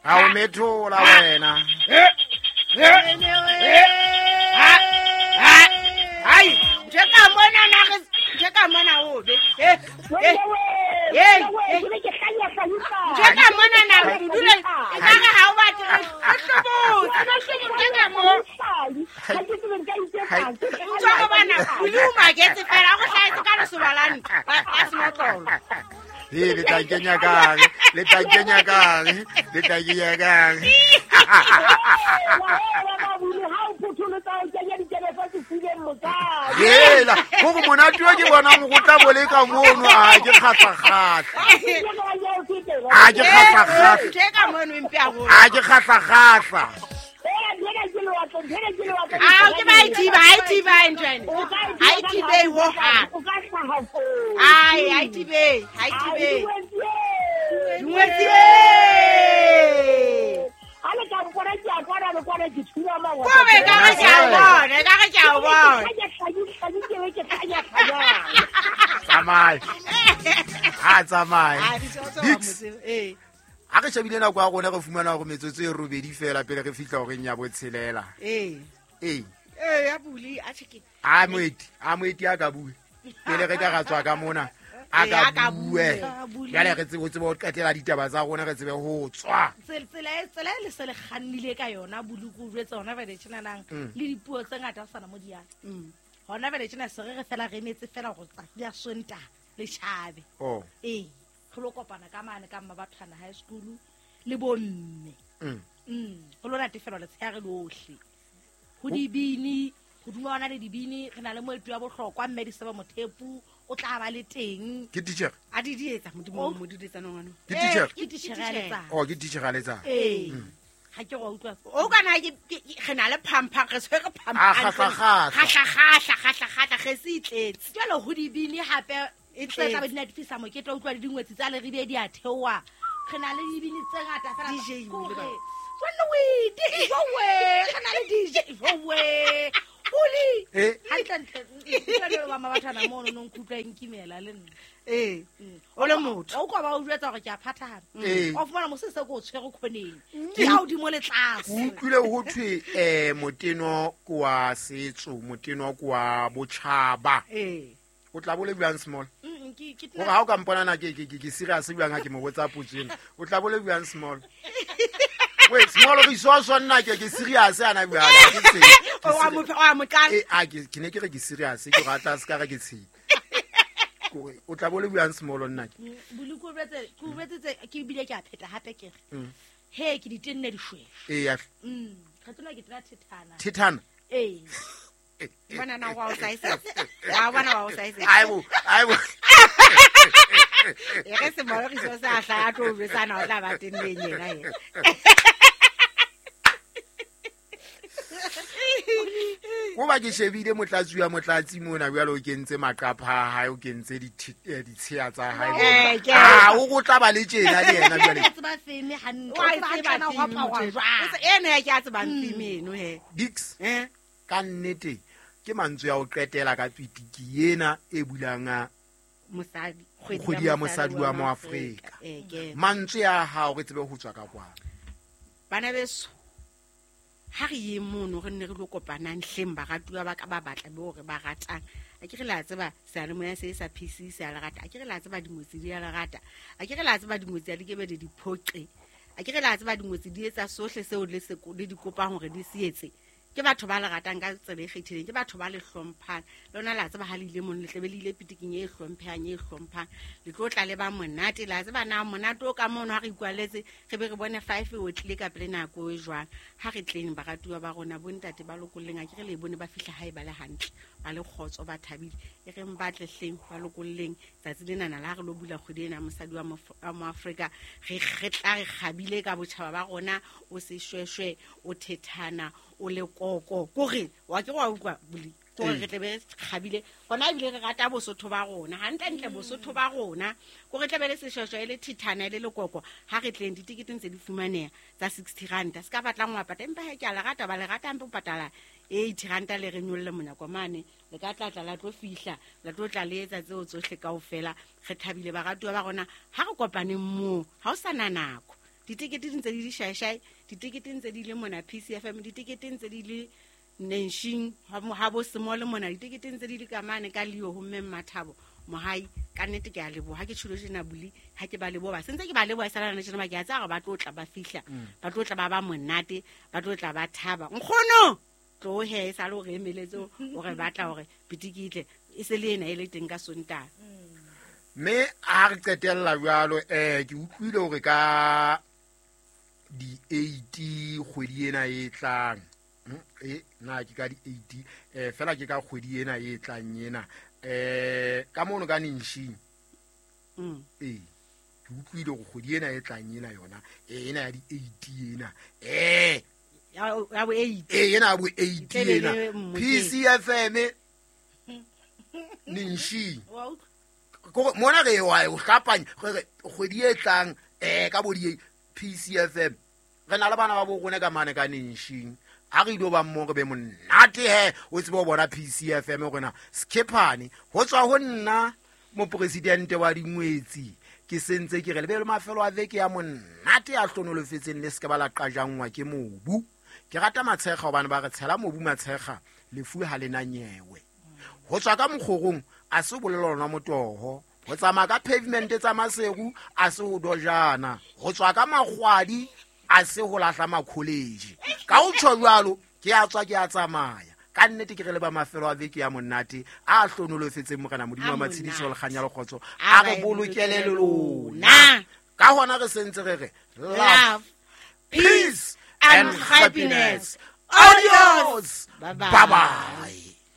Ha o methola wena. Ai, ntho e ka mona na re ntho e ka mona o be. Eh. Eh. Eh. Ntho e ka mona na re dule e ka re ha o batle re hlobotse. Ntho e ka mo. Ntho go bana o le o maketse fela go hlaetse ka lesoba la ntlo a senotlolo. He le tla kenya kang? Le tla kenya kang? Le tla kenya kang? Hela, go monate wa ke bona go tla bo le ka mono a ke kgatlha-kgatlha. A ke kgatlha-kgatlha. Ntho e ka mono e mpe haholo. A ke kgatlha-kgatlha. Ao ke ba e thiba, ha e thiba ntho ena. Ha e thibe ho hang. Ai, ha e thibe, ha e thibe. Dingwetsi. Ko be ka re ke a o bona, ka re ke a o bona. Tsamaya. Ha tsamaye. Dix. Eh. Ha re shebile nako ya rona re fumana hore metsotso e robedi fela pele re fihla horeng ya botshelela. Eh. Ee. Eh, ya buli a tjhe ke. A moeti a ka bue. Pele re ka ra tswa ka mona. A Ee, a ka ka bue. bue. Jwale re tsebe ho tseba ho qetela ditaba tsa rona re tsebe ho tswa. Tsela e le se le kgannile ka yona boluku o jwetsa hona jwale tjenanang le dipuo tse ngata ho sana mo di yang. Hona jwale tjena se re re fela re emetse fela hore tsatsi la Sontaha le tjhabe. Oh. Ee, re lo kopana ka mane ka Mmabathwana High School le bomme. Ho lo natefelwa letshehare lohle. Ho dibini, hodima hona le dibini, re na le moeti wa bohlokwa mme Disebo Mothepu o tla ba le teng. Ke teacher. A di di etsa modimo mo di etsa ngwana. Ke teacher. Ke teacher ya letsatsi. Oh, ke teacher ya letsatsi. Ee. Ha ke go utlwa. O kana ke re na le phampa re tshwere phampa. A kgahla-kgahla. Kgahla-kgahla, kgahla-kgahla re se itletse. Jwale ho dibini hape E tse tla tletse. be di natefisa mokete, o utlwa le dingwetsi tsa Leribe di a theoha. Re na le dibini tse ngata fela. DJ Kore, le ba. jwanne o e di- jowe, re na le DJ, jowe. Oli. Eh. Hantle-ntle, utlwa jwalo ba Mmabathwana mono, no nkutlwa e nkimela le nna. Eh. O le motho. O utlwa ba o jwetsa hore ke a phathahana. Ee. Wa fumana mosese ke o tshwere khoneng. Ke ya hodimo le tlase. O utlwile ho thwe moteno ke wa setso, moteno ke wa botjhaba. Eh. O tla bo le buang small. Ke Hore ha o ka mpona na ke ke serious buang ha ke mo botsa potso ena. O tla bo le buang small. Wait, small re iso so nna ke serious ana buang ke tse. O wa mo o wa mo qala. Eh, a ke ne ke re ke serious ke re tla se ka re ke tshedi. Kore o tla bo le buang small nna ke. Boluko jwetse, ke o jwetsitse, ke bile ke a pheta hape ke re. He, ke di tenne dishweshwe. Eh, ya. Re tsena ke tena thethana. Thethana. Ee. Bona na wa o saisa. Wa bona wa o saisa. Aibo, aibo. E re se mo re so sa hla a tlo jwetsana o tla ba tenneng yena yena. Ko ba ke shebile motlatsi wa motlatsi mona jwale o kentse maqapha a hae, o kentse ditsheya tsa hae mona. Eh, ke- Ah, o go tla ba le tjena le yena jwale. Ke tseba feme hantle. Wa O e tseba tseba hantle na ho theme aparwa motho. jwang. O se- eno ya ke a tsebang theme eno he. Dix, Eh? ka nnete ke mantswe ya ho qetela ka pitiki ena e bulang a Mosadi, Kgwedi ya mosadi wa Moafrika. Eh, ke. Mantswe a hao re tsebe ho tswa ka kwano. Bana beso, ha re ye mono re nne re lo kopanang hleng baratuwa ba ka ba batla be hore ba ratang. A ke re la tseba seyalemoya se sa PC se a le rata. A ke re la tseba dingwetsi di a le rata. A ke re la tseba dingwetsi ha di kebe di di phoqe. A ke re la tseba dingwetsi di etsa sohle seo le se le di kopang hore di se etse. Ke batho ba le ratang ka tsela e kgethileng, ke batho ba le hlomphang. Le lona la tseba ha le ile mono, le tlabe le ile pitiking e hlomphehang, e hlomphang. Le tlo tla le ba monate, la tseba na monate o ka mono ha re ikwaletse, re be re bone 5 o tlile ka pele nako e jwang. Ha re tleng baratuwa ba rona, bontate ba lokolleng, a ke re le bone ba fihla hae ba le hantle, ba le kgotso, ba thabile. E reng ba tle hleng, ba lokolleng. Tsatsi lenana la ha re lo bula kgwedi ena ya mosadi wa wa Moafrika, re tla re kgabile ka botjhaba ba rona, o seshweshwe, o thethana, o le koko. Kore, wa ke wa utlwa, Buli? Kore re tle be re kgabile. Hona ebile re rata Bosotho ba rona. Hantlentle Bosotho ba rona. Kore tla be le seshweshwe, e le thethana, e le lekoko. Ha re tleng, ditekete ntse di fumaneha tsa 60 ranta. Se ka batlang wa patala, empa he ke a le rata, ba le rata hampe o patala 80 ranta le re nyolle monyako mane. Le ka tla tla la tlo fihla, la tlo tla le etsa tseo tsohle kaofela. Re thabile baratuwa ba rona. Ha re kopaneng moo, ha o sa na nako. Ditekete di ntse di le shaeshai, ditekete ntse di le mona PCFM, ditekete ntse di le Nenshing ha bo Semole mona, ditekete ntse di le ka mane ka Leo ho mme Mmathabo Mohai. Ka nnete ke a leboha, ha ke tjholo tjena buli, ha ke ba leboha, sentse ke ba leboha e sala tjena ba ke a tsaya hore ba tlo tla ba fihla, ba tlo tla ba ba monate, ba tlo tla ba thaba. Nkgono tlo he sa le hore emeletse hore batla hore pitikitle e se le ena e le teng ka Sontaha. Mme ha re qetella jwalo, ke utlwile hore ka di 8 kgwedi ena e tlang, na ke ka di 8 fela ke ka kgwedi ena e tlang ena, ka mono ka Nenshing. Ke utlwile hore kgwedi ena e tlang ena yona, ena ya di 8 ena, ya bo 8. Ena ya bo 8 ena. PCFM Nenshing. Mona re wa o hlapanya re kgwedi e tlang, ka bo di PCFM re na le bana ba bo rona ka mane ka Nenshing. A re ilo ba mmo re be monate he, o tsebe ho bona PCFM rona Skephane. Ho tswa ho nna mopresidente wa dingwetsi, ke sentse ke re le be le mafelo a veke ya monate a hlonolofetseng, le se ke ba la qajangwa ke mobu. Ke rata matshekga hobane ba re tshela mobu matshekga, lefu ha le na nyewe. Ho tswa ka mokgorong a se bolelo lona motoho, ho tsamaya ka pavement tsa Maseru a se ho dojana, ho tswa ka makgwadi a se ho lahla makholeji. Ka ho tjho jwalo ke a tswa ke a tsamaya. Ka nnete ke re le ba mafelo a veke ya monate a hlonolofetseng Morena Modimo wa matshediso le kganya le kgotso, a re bolokele le lona. Ka hona re sentse re re love, peace and happiness. Adios. Bye bye. Bye bye.